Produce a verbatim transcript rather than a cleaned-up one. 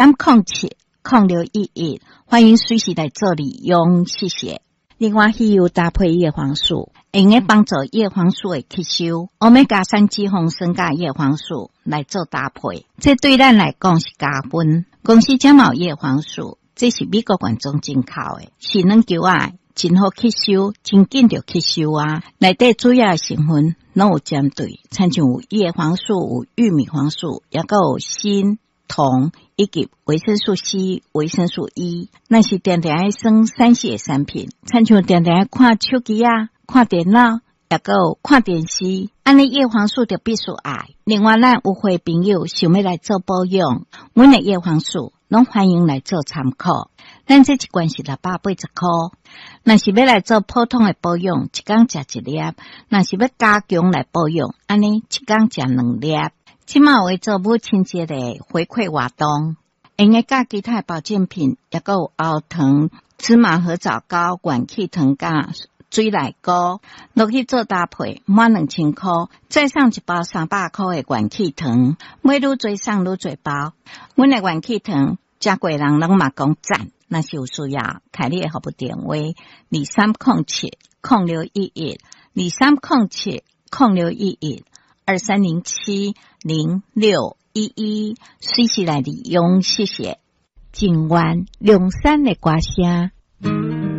三空七空六一一，歡迎隨時來做利用，謝謝。另外，還有搭配葉黃素，會用幫助葉黃素的吸收。歐米伽三脂肪酸佮葉黃素來做搭配，這對咱來講是加分。公司這嘛有葉黃素，這是美國原裝進口的，是軟球仔，真好吸收，真緊就吸收啊！內底主要的成分攏有針對，親像有葉黃素、有玉米黃素，抑閣有鋅、銅以及維生素 C、維生素 E。咱是定定愛耍三 C 的產品，親像定定愛看手機啊、看電腦，抑閣有看電視，按呢葉黃素就必須愛。另外，咱有會朋友想欲來做保養，阮的葉黃素攏歡迎來做參考。咱這一罐是六百八十箍，若是欲來做普通的保養，一工食一粒；若是欲加強來保養，按呢一工食兩粒。這馬有做母親節的回饋活動，會用佮其他的保健品，抑閣有喉糖、芝麻核棗糕、元氣糖佮水內膏，落去做搭配，滿兩千箍，再送一包三百箍的元氣糖，買愈濟送愈濟包。阮的元氣糖，食過人攏嘛講讚。若是有需要，開你的服務電話：二三空七空六一一，二三空七空六一一，二三零七零六一一，隨時來利用，謝謝。靖遠龍山的歌聲。